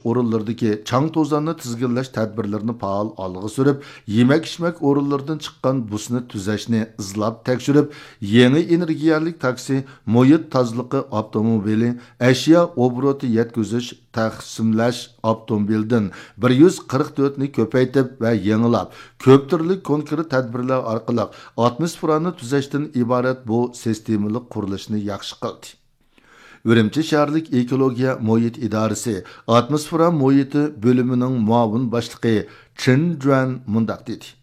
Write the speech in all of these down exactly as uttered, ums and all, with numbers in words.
ئورۇنلىرىدىكى چاڭ-توزاننى تىزگىنلەش تەدبىرلىرىنى پائال ئالغا سۈرۈپ، يېمەك-ئىچمەك ئورۇنلىرىدىن چىققان بۇسنى تۈزەشنى ئىزلاپ تەكشۈرۈپ، يېڭى ئېنېرگىيەلىك تاكسى، مۇھىت تازىلىقى ئاپتوموبىلى، ئەشيا ئوبوروتى يەتكۈزۈش، تەقسىملەش ئاپتوموبىلىدىن بىر يۈز قىرىق تۆتنى كۆپەيتىپ ۋە يېڭىلاپ، كۆپ تۈرلۈك كونكرېت تەدبىرلەر ئارقىلىق ئاتموسفېرانى تۈزەشتىن ئىبارەت بۇ سىستېمىلىق قۇرۇلۇشنى ياخشى قىلدى. ئۈرۈمچى شەھەرلىك ئېكولوگىيە مۇھىت ئىدارىسى ئاتموسفېرا مۇھىتى بۆلۈمىنىڭ مۇئاۋىن باشلىقى چېن جۈەن مۇنداق دېدى: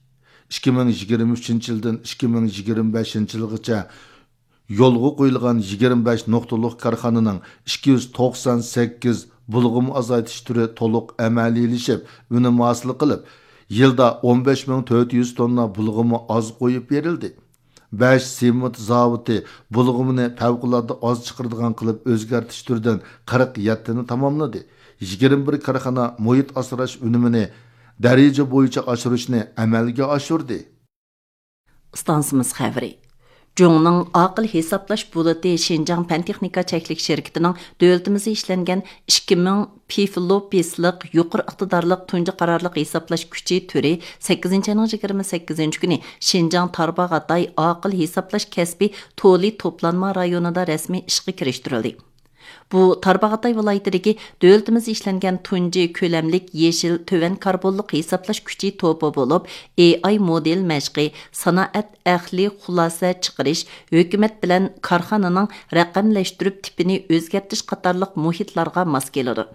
«ئىككى مىڭ يىگىرمە ئۈچىنچى يىلدىن ئىككى مىڭ يىگىرمە بەشىنچى يىلغىچە يولغا قويۇلغان يىگىرمە بەش نۇقتىلىق كارخانىنىڭ ئىككى يۈز توقسان سەككىز بۇلغىما ئازايتىش تۈرى تولۇق ئەمەلىيلىشىپ، ئۈنۈم ھاسىل قىلىپ، يىلدا ئون بەش مىڭ تۆت يۈز توننا بۇلغىما ئاز قويۇپ بېرىلدى. بەش سېمونت زاۋۇتى بۇلغىمىنى پەۋقۇلئاددە ئاز چىقىرىدىغان قىلىپ ئۆزگەرتىش تۈرىدىن قىرىق يەتتىنى تاماملىدى. يىگىرمە بىر كارخانا مۇھىت ئاسراش ئۈنۈمىنى دەرىجە بويىچە ئاشۇرۇشنى ئەمەلگە ئاشۇردى.» ئىستانسىمىز خەۋىرى. جۇڭنىڭ ئاقىل ھېسابلاش بولۇتى شىنجاڭ پەن تېخنىكا چەكلىك شىركىتىنىڭ دۆلىتىمىزدە ئىشلەنگەن ئىككى مىڭ پىفلوپىسلىق يۇقىرى ئىقتىدارلىق تۇنجى قارارلىق ھېسابلاش كۈچى تۈرى سەككىزىنچى ئاينىڭ يىگىرمە سەككىزىنچى كۈنى شىنجاڭ تارباغاتاي ئاقىل ھېسابلاش كەسپى تولى توپلانما رايونىدا رەسمىي ئىشقا كىرىشتۈرۈلدى. بۇ تارباغاتاي ۋىلايىتىدىكى دۆلىتىمىزدە ئىشلەنگەن تۇنجى كۆلەملىك يېشىل تۆۋەن كاربونلۇق ھېسابلاش كۈچى توپى بولۇپ، ئېي ئاي مودېل مەشقى، سانائەت ئەقلىي خۇلاسە چىقىرىش، ھۆكۈمەت بىلەن كارخانىنىڭ رەقەملەشتۈرۈپ تىپىنى ئۆزگەرتىش قاتارلىق مۇھىتلارغا ماس كېلىدۇ.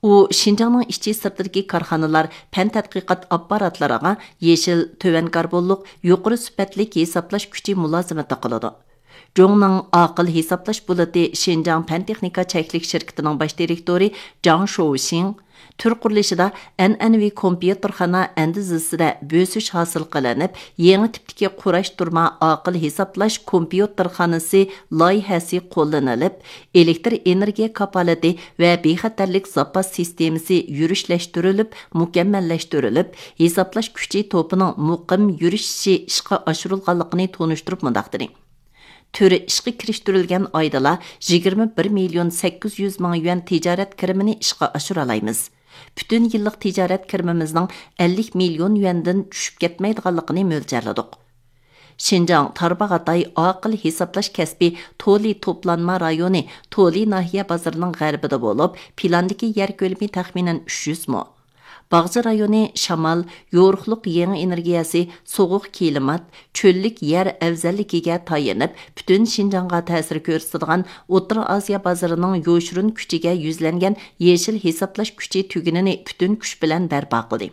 ئۇ شىنجاڭنىڭ ئىچى سىرتىدىكى كارخانىلار، پەن تەتقىقات ئاپپاراتلىرىغا يېشىل، تۆۋەن كاربونلۇق، يۇقىرى سۈپەتلىك ھېسابلاش كۈچى مۇلازىمىتى قىلىدۇ. جۇڭنىڭ ئاقىل ھېسابلاش بولۇتى شىنجاڭ پەن تېخنىكا چەكلىك شىركىتىنىڭ باش دىرېكتورى جاڭ شوۋشىڭ، تۈر قۇرۇلۇشىدا ئەنئەنىۋى كومپيۇتېرخانا ئەندىزىسىدە بۆسۈش ھاسىل قىلىنىپ، يېڭى تىپتىكى قۇراشتۇرما ئاقىل ھېسابلاش كومپيۇتېرخانىسى لايىھەسى قوللىنىلىپ، ئېلېكتر ئېنېرگىيە كاپالىتى ۋە بىخەتەرلىك زاپاس سىستېمىسى يۈرۈشلەشتۈرۈلۈپ، مۇكەممەللەشتۈرۈلۈپ، ھېسابلاش كۈچى توپىنىڭ مۇقىم يۈرۈشۈشى ئىشقا ئاشۇرۇلغانلىقىنى تونۇشتۇرۇپ مۇنداق دېدى: تۈر ئىشقا كىرىشتۈرۈلگەن ئايدىلا يىگىرمە بىر مىليون سەككىز يۈز مىڭ يۈەن تىجارەت كىرىمىنى ئىشقا ئاشۇرالايمىز. پۈتۈن يىللىق تىجارەت كىرىمىمىزنىڭ ئەللىك مىليون يۈەندىن چۈشۈپ كەتمەيدىغانلىقىنى مۆلچەرلىدۇق. شىنجاڭ تارباغاتاي ئاقىل ھېسابلاش كەسپى تولى توپلانما رايونى تولى ناھىيە بازىرىنىڭ غەربىدە بولۇپ، پىلاندىكى يەر كۆلىمى تەخمىنەن ئۈچ يۈز مو. باغچە رايونى شامال، يورۇقلۇق يېڭى ئېنېرگىيەسى، سوغۇق كىلىمات، چۆللۈك يەر ئەۋزەللىكىگە تايىنىپ، پۈتۈن شىنجاڭغا تەسىر كۆرسىتىدىغان ئوتتۇرا ئاسىيا بازىرىنىڭ يوشۇرۇن كۈچىگە يۈزلەنگەن يېشىل ھېسابلاش كۈچى تۈگۈنىنى پۈتۈن كۈچ بىلەن بەرپا قىلدى.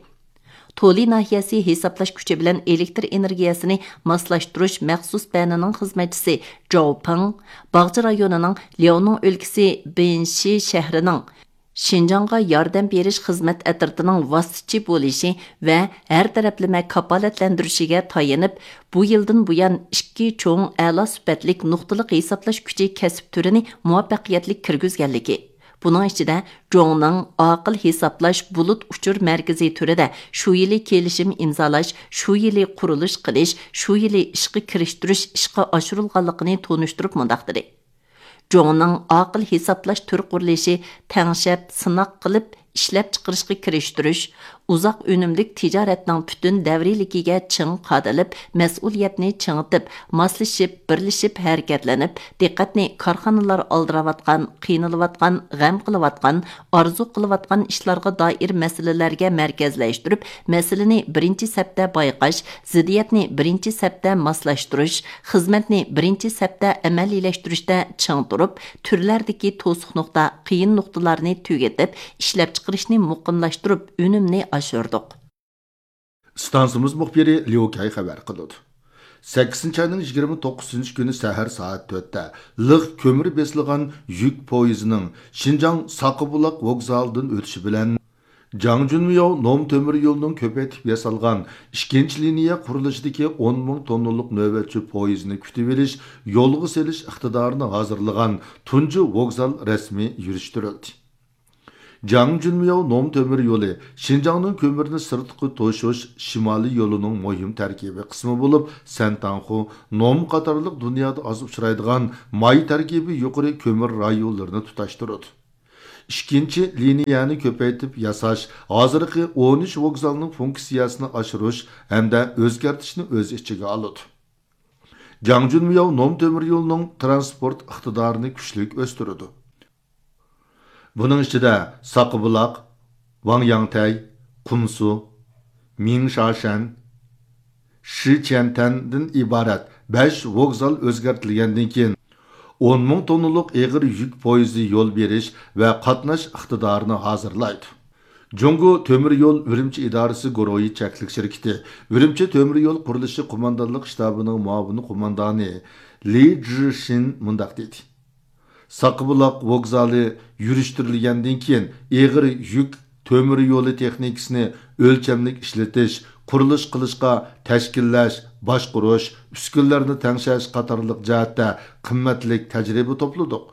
تولى ناھىيەسى ھېسابلاش كۈچى بىلەن ئېلېكتر ئېنېرگىيەسىنى ماسلاشتۇرۇش مەخسۇس بەنىنىڭ خىزمەتچىسى جاۋ پېڭ، باغچە رايونىنىڭ لياۋنىڭ ئۆلكىسى بېنشى شەھىرىنىڭ شىنجاڭغا ياردەم بېرىش خىزمەت ئەترىتىنىڭ ۋاسىتىچى بولۇشى ۋە ھەر تەرەپلىمە كاپالەتلەندۈرۈشىگە تايىنىپ، بۇ يىلدىن بۇيان ئىككى چوڭ ئەلا سۈپەتلىك نۇقتىلىق ھېسابلاش كۈچى كەسىپ تۈرىنى مۇۋەپپەقىيەتلىك كىرگۈزگەنلىكى، بۇنىڭ ئىچىدە جوڭنىڭ ئاقىل ھېسابلاش بۇلۇت ئۇچۇر مەركىزى تۈرىدە شۇ يىلى كېلىشىم ئىمزالاش، شۇ يىلى قۇرۇلۇش قىلىش، شۇ يىلى ئىشقا كىرىشتۈرۈش ئىشقا ئاشۇرۇلغانلىقىنى تونۇشتۇرۇپ مۇنداق دېدى: جوڭنىڭ ئاقىل ھېسابلاش تۈر قۇرۇلۇشى تەڭشەپ، سىناق قىلىپ، ئىشلەپچىقىرىشقا كىرىشتۈرۈش، ئۇزاق ئۈنۈملۈك تىجارەتنىڭ پۈتۈن دەۋرىيلىكىگە چىڭ قادىلىپ، مەسئۇلىيەتنى چىڭىتىپ، ماسلىشىپ، بىرلىشىپ ھەرىكەتلىنىپ، دىققەتنى كارخانىلار ئالدىراۋاتقان، قىينىلىۋاتقان، غەم قىلىۋاتقان، ئارزۇ قىلىۋاتقان ئىشلارغا دائىر مەسىلىلەرگە مەركەزلەشتۈرۈپ، مەسىلىنى بىرىنچى سەپتە بايقاش، زىددىيەتنى بىرىنچى سەپتە ماسلاشتۇرۇش، خىزمەتنى بىرىنچى سەپتە ئەمەلىيلەشتۈرۈشتە چىڭ تۇرۇپ، تۈرلەردىكى توسۇق نۇقتا، قىيىن نۇقتىلارنى تۈگىتىپ، ئىشلەپچىقىرىشنى مۇقىملاشتۇرۇپ، ئۈنۈمنى ئاشۇردۇق. ئىستانسىمىز مۇخبىرى ليۇ كەي خەۋەر قىلىدۇ. سەككىزىنچى ئاينىڭ يىگىرمە توققۇزىنچى كۈنى سەھەر سائەت تۆتتە لىق كۆمۈر بېسىلغان يۈك پويىزىنىڭ شىنجاڭ ساقىبۇلاق ۋوگزالىدىن ئۆتۈشى بىلەن، جاڭجۈنمياۋ نوم تۆمۈر يولىنىڭ كۆپەيتىپ ياسالغان ئىككىنچى لىنىيە قۇرۇلۇشىدىكى ئون مىڭ توننىلىق نۆۋەتچى پويىزنى كۈتۈۋېلىش، يولغا سېلىش ئىقتىدارىنى ھازىرلىغان تۇنجى ۋوگزال رەسمىي يۈرۈشتۈرۈلدى. جاڭجۈنمياۋ نوم تۆمۈر يولى شىنجاڭنىڭ كۆمۈرنى سىرتقا توشۇش شىمالىي يولىنىڭ مۇھىم تەركىبىي قىسمى بولۇپ، سەنتاڭخۇ، نوم قاتارلىق دۇنيادا ئاز ئۇچرايدىغان ماي تەركىبى يۇقىرى كۆمۈر رايونلىرىنى تۇتاشتۇرىدۇ. ئىككىنچى لىنىيەنى كۆپەيتىپ ياساش ھازىرقى ئون ئۈچ ۋوگزالنىڭ فۇنكسىيەسىنى ئاشۇرۇش ھەمدە ئۆزگەرتىشنى ئۆز ئىچىگە ئالىدۇ. جاڭجۈنمياۋ نوم تۆمۈر يولىنىڭ ترانسپورت ئىقتىدارىنى كۈچلۈك ئۆستۈرىدۇ. بۇنىڭ ئىچىدە ساقىبۇلاق، ۋاڭياڭتەي، قۇمسۇ، مىڭشاشەن، شىچيەنتەندىن ئىبارەت بەش ۋوگزال ئۆزگەرتىلگەندىن كېيىن، ئون مىڭ توننىلىق ئېغىر يۈك پويىزى يول بېرىش ۋە قاتناش ئىقتىدارىنى ھازىرلايدۇ. جۇڭگو تۆمۈر يول ئۈرۈمچى ئىدارىسى گۇرۇھى چەكلىك شىركىتى ئۈرۈمچى تۆمۈر يول قۇرۇلۇشى قوماندانلىق شتابىنىڭ مۇئاۋىن قوماندانى لى جىشىن مۇنداق دېدى: ساقىبۇلاق ۋوگزالى يۈرۈشتۈرۈلگەندىن كېيىن، ئېغىر يۈك تۆمۈر يولى تېخنىكىسىنى ئۆلچەملىك ئىشلىتىش، قۇرۇلۇش قىلىشقا تەشكىللەش، باشقۇرۇش، ئۈسكۈنىلەرنى تەڭشەش قاتارلىق جەھەتتە قىممەتلىك تەجرىبە توپلىدۇق.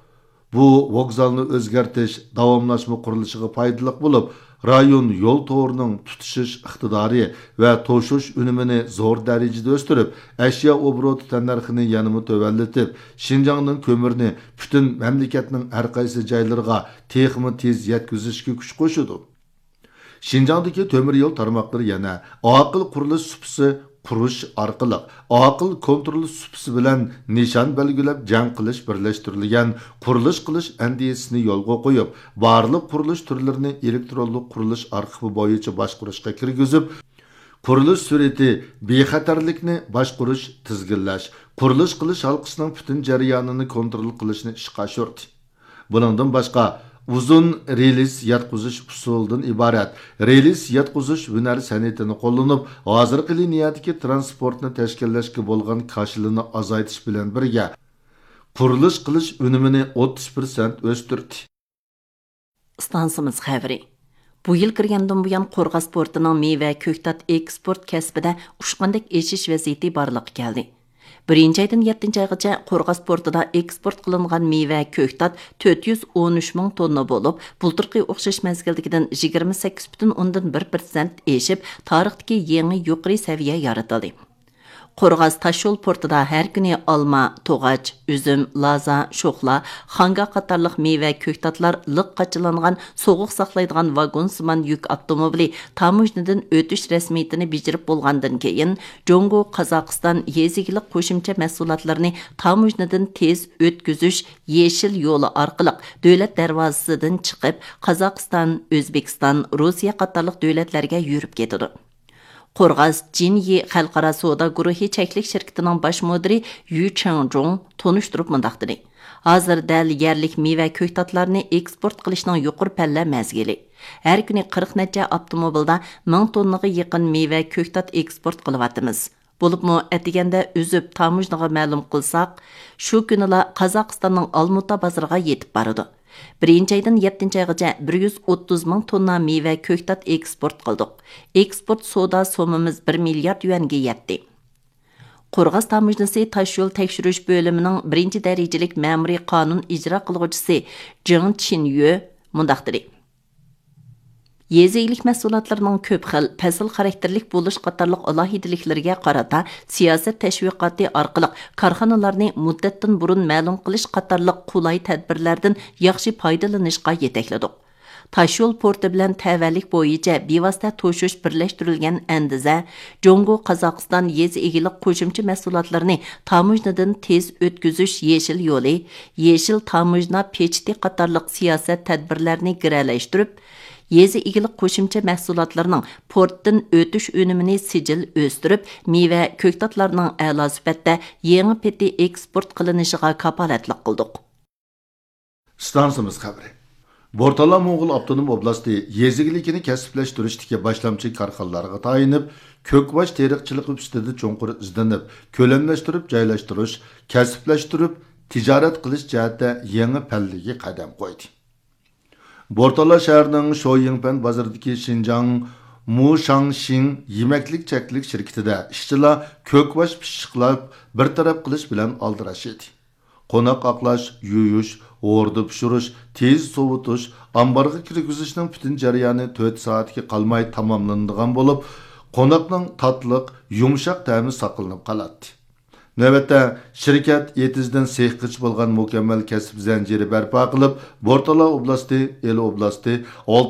بۇ ۋوگزالنى ئۆزگەرتىش داۋاملاشما قۇرۇلۇشىغا پايدىلىق بولۇپ، رايون يول تورىنىڭ تۇتىشىش ئىقتىدارى ۋە توشۇش ئۈنۈمىنى زور دەرىجىدە ئۆستۈرۈپ، ئەشيا ئوبوروتى تەننەرخىنى يەنىمۇ تۆۋەنلىتىپ، شىنجاڭنىڭ كۆمۈرىنى پۈتۈن مەملىكەتنىڭ ھەرقايسى جايلىرىغا تېخىمۇ تېز يەتكۈزۈشكە كۈچ قوشىدۇ. شىنجاڭدىكى تۆمۈر يول تارماقلىرى يەنە ئاقىل قۇرۇلۇش سۇپىسى قۇرۇش ئارقىلىق، ئاقىل كونترول سۇپىسى بىلەن نىشان بەلگىلەپ جەڭ قىلىش بىرلەشتۈرۈلگەن قۇرۇلۇش قىلىش ئەندىزىسىنى يولغا قويۇپ، بارلىق قۇرۇلۇش تۈرلىرىنى ئېلېكترونلۇق قۇرۇلۇش ئارخىپى بويىچە باشقۇرۇشقا كىرگۈزۈپ، قۇرۇلۇش سۈرئىتى، بىخەتەرلىكنى باشقۇرۇش، تىزگىنلەش، قۇرۇلۇش قىلىش ھالقىسىنىڭ پۈتۈن جەريانىنى كونترول قىلىشنى ئىشقا ئاشۇردى. بۇنىڭدىن باشقا، ئۇزۇن رېلىس ياتقۇزۇش ئۇسۇلىدىن ئىبارەت رېلىس ياتقۇزۇش ھۈنەر سەنئىتىنى قوللىنىپ، ھازىرقى لىنىيەدىكى ترانسپورتنى تەشكىللەشكە بولغان كاشىلىنى ئازايتىش بىلەن بىرگە، قۇرۇلۇش قىلىش ئۈنۈمىنى ئوتتۇز پىرسەنت ئۆستۈردى. ئىستانسىمىز خەۋىرى. بۇ يىل كىرگەندىن بۇيان، قورغاس پورتىنىڭ مېۋە، كۆكتات ئېكسپورت كەسپىدە ئۇچقاندەك ئېشىش ۋەزىيىتى بارلىققا كەلدى. بىرىنچى ئايدىن يەتتىنچى ئايغىچە قورغاس پورتىدا ئېكسپورت قىلىنغان مېۋە، كۆكتات تۆت يۈز ئون ئۈچ مىڭ توننا بولۇپ، بۇلتۇرقى ئوخشاش مەزگىلدىكىدىن يىگىرمە سەككىز پۈتۈن ئوندىن بىر پىرسەنت ئېشىپ، تارىختىكى يېڭى يۇقىرى سەۋىيە يارىتىلدى. قورغاس تاشيول پورتىدا ھەر كۈنى ئالما، توغاچ، ئۈزۈم، لازا، شوخلا، خاڭگا قاتارلىق مېۋە، كۆكتاتلار لىق قاچىلانغان سوغۇق ساقلايدىغان ۋاگونسىمان يۈك ئاپتوموبىلى تاموژنىدىن ئۆتۈش رەسمىيىتىنى بېجىرىپ بولغاندىن كېيىن، جۇڭگو، قازاقىستان يېزا ئىگىلىك قوشۇمچە مەھسۇلاتلىرىنى تاموژنىدىن تېز ئۆتكۈزۈش يېشىل يولى ئارقىلىق دۆلەت دەرۋازىسىدىن چىقىپ، قازاقىستان، ئۆزبېكىستان، روسىيە قاتارلىق دۆلەتلەرگە يۈرۈپ كېتىدۇ. قورغاس جىنيى خەلقئارا سودا گۇرۇھى چەكلىك شىركىتىنىڭ باش مۇدىرى يۈ چېڭجۇڭ تونۇشتۇرۇپ مۇنداق دېدى: ھازىر دەل يەرلىك مېۋە، كۆكتاتلارنى ئېكسپورت قىلىشنىڭ يۇقىرى پەللە مەزگىلى. ھەر كۈنى قىرىق نەچچە ئاپتوموبىلدا مىڭ توننىغا يېقىن مېۋە، كۆكتات ئېكسپورت قىلىۋاتىمىز. بولۇپمۇ ئەتىگەندە ئۈزۈپ تاموژنىغا مەلۇم قىلساق، شۇ كۈنىلا قازاقىستاننىڭ ئالمۇتا بازىرىغا يېتىپ بارىدۇ. بىرىنچى ئايدىن يەتتىنچى ئايغىچە بىر يۈز ئوتتۇز مىڭ توننا مېۋە، كۆكتات ئېكسپورت قىلدۇق. ئېكسپورت سودا سوممىمىز بىر مىليارد يۈەنگە يەتتى. قورغاس تاموژنىسى تاشيول تەكشۈرۈش بۆلۈمىنىڭ بىرىنچى دەرىجىلىك مەمۇرىي قانۇن ئىجرا قىلغۇچىسى جېڭ چىنيۆ مۇنداق دېدى: يېزا ئىگىلىك مەھسۇلاتلىرىنىڭ كۆپ خىل، پەسىل خاراكتېرلىك بولۇش قاتارلىق ئالاھىدىلىكلىرىگە قارىتا سىياسەت تەشۋىقاتى ئارقىلىق كارخانىلارنى مۇددەتتىن بۇرۇن مەلۇم قىلىش قاتارلىق قولاي تەدبىرلەردىن ياخشى پايدىلىنىشقا يېتەكلىدۇق. تاشيول پورتى بىلەن تەۋەلىك بويىچە بىۋاسىتە توشۇش بىرلەشتۈرۈلگەن ئەندىزە، جۇڭگو، قازاقىستان يېزا ئىگىلىك قوشۇمچە مەھسۇلاتلىرىنى تاموژنىدىن تېز ئۆتكۈزۈش يېشىل يولى، يېشىل تاموژنا پېچىتى قاتارلىق سىياسەت تەدبىرلەرنى گىرەلەشتۈرۈپ، يېزا ئىگىلىك قوشۇمچە مەھسۇلاتلىرىنىڭ پورتتىن ئۆتۈش ئۈنۈمىنى سىجىل ئۆستۈرۈپ، مېۋە، كۆكتاتلارنىڭ ئەلا سۈپەتتە يېڭى پېتى ئېكسپورت قىلىنىشىغا كاپالەتلىك قىلدۇق. ئىستانسىمىز خەۋىرى. بورتالا موڭغۇل ئاپتونوم ئوبلاستى يېزا ئىگىلىكىنى كەسىپلەشتۈرۈشتىكى باشلامچى كارخانىلارغا تايىنىپ، كۆكباش تېرىقچىلىقى ئۈستىدە چوڭقۇر ئىزدىنىپ، كۆلەملەشتۈرۈپ جايلاشتۇرۇش، كەسىپلەشتۈرۈپ تىجارەت قىلىش جەھەتتە يېڭى پەللىگە قەدەم قويدى. بورتالا شەھىرىنىڭ شويىڭپەن بازىرىدىكى شىنجاڭ مۇشاڭشىڭ يېمەكلىك چەكلىك شىركىتىدە ئىشچىلار كۆكباش پىششىقلاپ بىر تەرەپ قىلىش بىلەن ئالدىراش ئىدى. قوناق ئاقلاش، يۇيۇش، ھوردا پىشۇرۇش، تېز سوۋۇتۇش، ئامبارغا كىرگۈزۈشنىڭ پۈتۈن جەريانى تۆت سائەتكە قالماي تاماملىنىدىغان بولۇپ، قوناقنىڭ تاتلىق، يۇمشاق تەمى ساقلىنىپ قالاتتى. نۆۋەتتە، شىركەت ئېتىزدىن سېخقىچە بولغان مۇكەممەل كەسىپ زەنجىرى بەرپا قىلىپ، بورتالا ئوبلاستى، ئىلى ئوبلاستى، ئالتە